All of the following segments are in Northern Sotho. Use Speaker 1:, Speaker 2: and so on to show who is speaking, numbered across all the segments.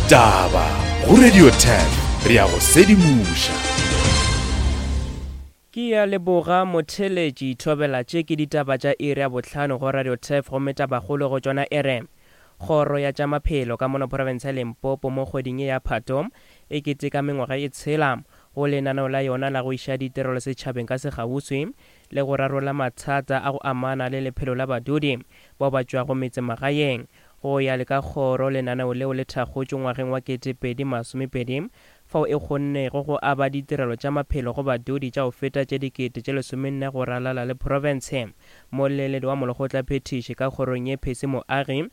Speaker 1: Ditaba go Radio 10 re a go sedimoša.
Speaker 2: Ke ya leboga motheeletši Thobela tše ke ditaba tša iri ya bohlano go Radio Turf gomme tabakgolo go tšona e re Kgoro ya tša Maphelo ka mono profense ya Limpopo mo kgweding ye ya Phato e keteka mengwaga e tshela go lenaneo la yona la go iša ditirelo setšhabeng ka sekgauswi le go rarolla mathata a go amana le lephelo la badudi bao ba tšwago metsemagaeng. Go ya le ka kgoro lenaneo leo le thakgotšwe ngwageng wa 2020 fao e kgonnego go aba ditirelo tša maphelo go badudi tša go feta tše 14,000 go ralala le profense. Moleledi wa molekgotlaphethiši ka kgorong ye Percy Moagi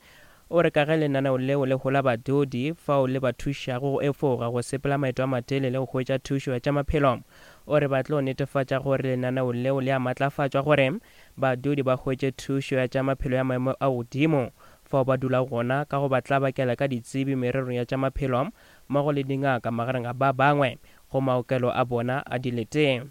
Speaker 2: o re ka ge lenaneo leo le hola badudi fao le ba thušago go efoga go sepela maeto a matelele go hwetša thušo ya tša maphelo, o re ba tlo netefatša gore lenaneo leo le a matlafatšwa gore badudi ba hwetše thušo ya tša maphelo ya maemo a godimo fao ba dulago gona ka go ba tlabakela ka ditsebi mererong ya tša maphelo mmogo le dingaka magareng ga ba bangwe go maokelo a bona a dilete.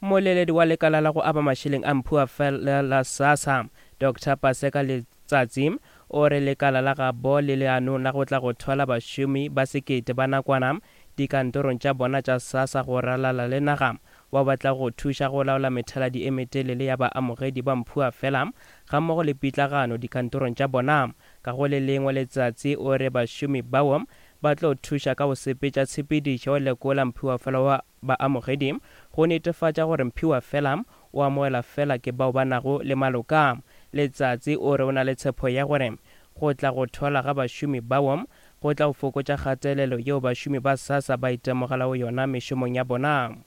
Speaker 2: Mmoleledi wa lekala la go aba mašeleng a Mphuafela la SASSA, Doctor Paseka Letsatsi, o re lekala la gabo le leanong la go tla go thwala bašomi ba sekete ba nakwana dikantorong tša bona tša SASSA go ralala le naga bao ba tlago go thuša go laola methaladi e metelele ya baamogedi ba Mphuafela gammogo le pitlagano dikantorong tša bona. Ka go le lengwe letsatsi o re bašomi bao ba tlo thuša ka go sepetša tshepedišo ya go lekola mphiwafela wa baamogedi go netefatša gore mphiwafela o amogelwa fela ke bao ba nago le maloka. Letsatsi o re o na le tshepo ya gore go tla go thwalwa ga bašomi bao go tla go fokotša kgatelelo yeo bašomi ba SASSA ba itemogelago yona mešomong ya bona.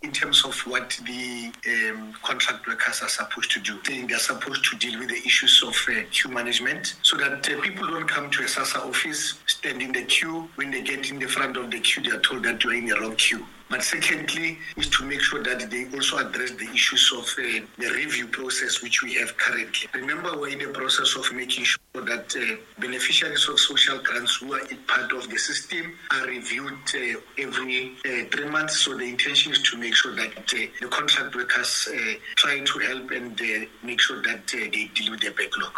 Speaker 3: In terms of what the um, contract workers are supposed to do. They are supposed to deal with the issues of uh, queue management so that uh, people don't come to a SASSA office, stand in the queue. When they get in the front of the queue, they are told that you are in the wrong queue. But secondly, is to make sure that they also address the issues of uh, the review process which we have currently. Remember, we're in the process of making sure that uh, beneficiaries of social grants who are part of the system are reviewed uh, every uh, three months. So the intention is to make sure that uh, the contract workers uh, try to help and uh, make sure that uh, they deal with the backlog.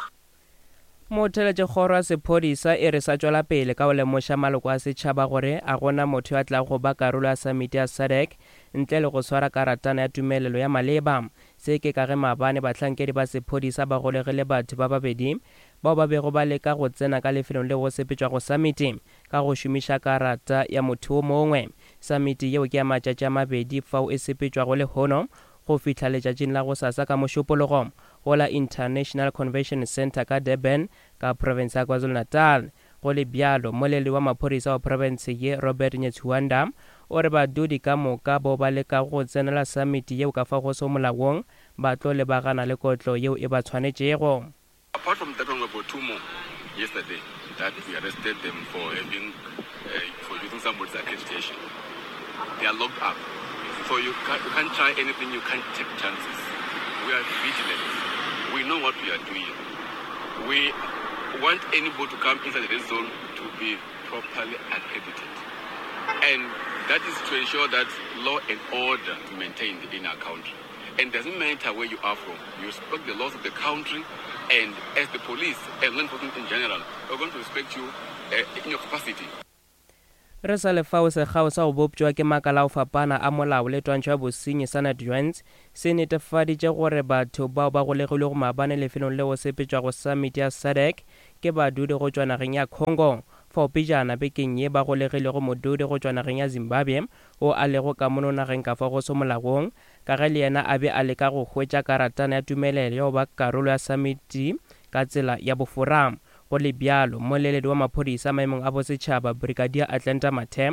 Speaker 2: Motheletšekgoro ya sephodisa e re sa tšwela pele ka go lemoša maloko a setšhaba gore a gona motho yo a tlago go ba karolo ya samiti ya SADC ntle le go swara karatana ya tumelelo ya maleba. Se ke ka ge maabane bahlankedi ba sephodisa ba golegile batho ba babedi bao ba bego ba leka go tsena ka lefelong leo go sepetšwago samiti ka go šomiša karata ya motho wo mongwe. Samiti yeo ke ya matšatši a mabedi fao e sepetšwago lehono go fihla letšatšing la gosasa ka Mošupologo go la International Convention Centre ka Durban ka profense ya KwaZulu-Natal. Go le bjalo, mmoleledi wa maphodisa wa profense ye Robert Netshiunda o re badudi ka moka bao ba lekago go tsenela samiti yeo ka fao go sego molaong ba tlo lebagana le kotlo yeo e ba tshwanetšego.
Speaker 4: Apart from that one, we've got two more yesterday that we arrested them for having uh, for using somebody's accreditation. They are locked up. So you can't, you can't try anything, you can't take chances. We are vigilant. We know what we are doing. We want anybody to come inside the red zone to be properly accredited. And that is to ensure that law and order is maintained in our country. And doesn't matter where you are from, you respect the laws of the country, and as the police and law enforcement in general, we're going to respect you uh, in your capacity.
Speaker 2: Re sa le fao, sekgao sa go boptšwa ke makala a go fapana a molao le twantšho ya bosenyi sa Natjoints se netefaditše gore batho bao ba golegilwego maabane lefelong leo go sepetšwago samiti ya SADC ke badudi go tšwa nageng ya Congo, fao pejana bekeng ye ba golegilego modudi go tšwa nageng ya Zimbabwe wo a lego ka mono nageng ka fao go se molaong ka ge le yena a be a leka go hwetša karatana ya tumelelo ya go ba karolo ya samiti ka tsela ya bofora. Go le bjalo, mmoleledi wa maphodisa maemong a bosetšhaba, Brigadier Atlanta Mathe,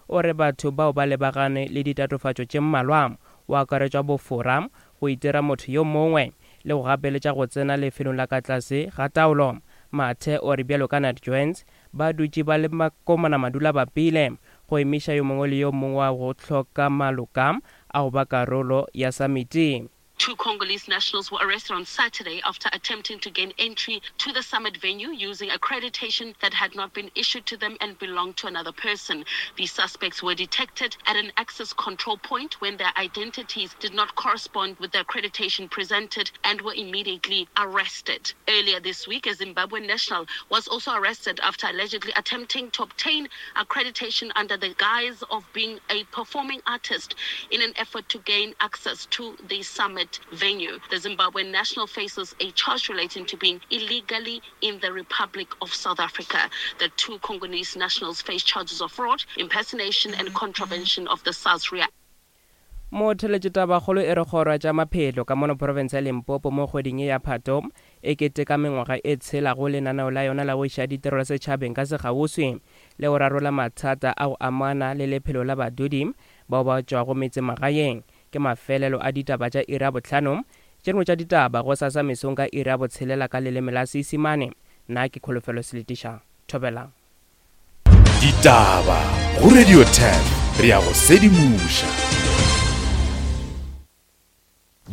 Speaker 2: o re batho bao ba lebagane le ditatofatšo tše mmalwa, go akaretšwa bofora, go itira motho yo mongwe le go gapeletša go tsena lefelong la ka tlase ga taolo. Mathe o re bjalo ka Nat Joints, ba dutše ba le makomana madulabapile go emiša yo mongwe le yo mongwe wa go hloka maloka a go ba karolo ya samiti.
Speaker 5: Two Congolese nationals were arrested on Saturday after attempting to gain entry to the summit venue using accreditation that had not been issued to them and belonged to another person. The suspects were detected at an access control point when their identities did not correspond with the accreditation presented and were immediately arrested. Earlier this week, a Zimbabwean national was also arrested after allegedly attempting to obtain accreditation under the guise of being a performing artist in an effort to gain access to the summit venue. The Zimbabwean national faces a charge relating to being illegally in the Republic of South Africa. The two Congolese nationals face charges of fraud, impersonation, and contravention of the SARS
Speaker 2: Motheletše tabakgolo e re kgoro ya tša maphelo ka mono profense ya Limpopo mo kgweding ye ya Phato e keteka mengwaga e tshela go lenaneo la yona la go iša ditirelo setšhabeng ka sekgauswi le go rarolla mathata a go amana le lephelo la badudi bao ba tšwago metsemagaeng. Ke mafelelo a ditaba tša iri ya bohlano. Tše dingwe tša ditaba gosasa mesong ka iri ya botshelela ka leleme la Seisimane. Nna ke Kholofelo Seletiša. Thobela.
Speaker 1: Ditaba go Radio 10 re ya go sedimoša.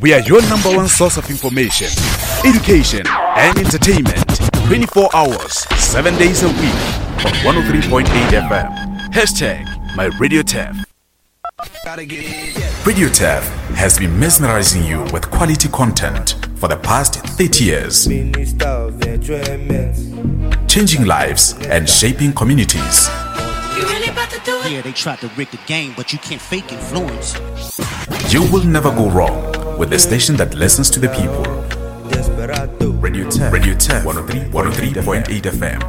Speaker 1: We are your number one source of information, education, and entertainment 24 hours, 7 days a week on 103.8 FM. Hashtag my Radio TEF. Radio TEF has been mesmerizing you with quality content for the past 30 years. Changing lives and shaping communities.
Speaker 6: Yeah, they tried to rig the game, but you can't fake influence.
Speaker 1: You will never go wrong with the station that listens to the people. Radio 10, Radio 10, 103.8 FM.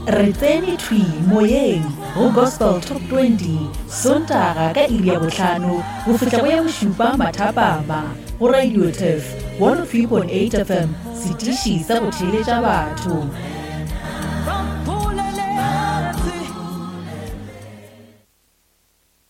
Speaker 7: Re tsene thwi moyeng go Gospel Top 20 Sontaga ka iri ya bohlano go fihla go ya bošupa mathapama go Radio Turf 103.8 FM, setiši sa go theeletša batho.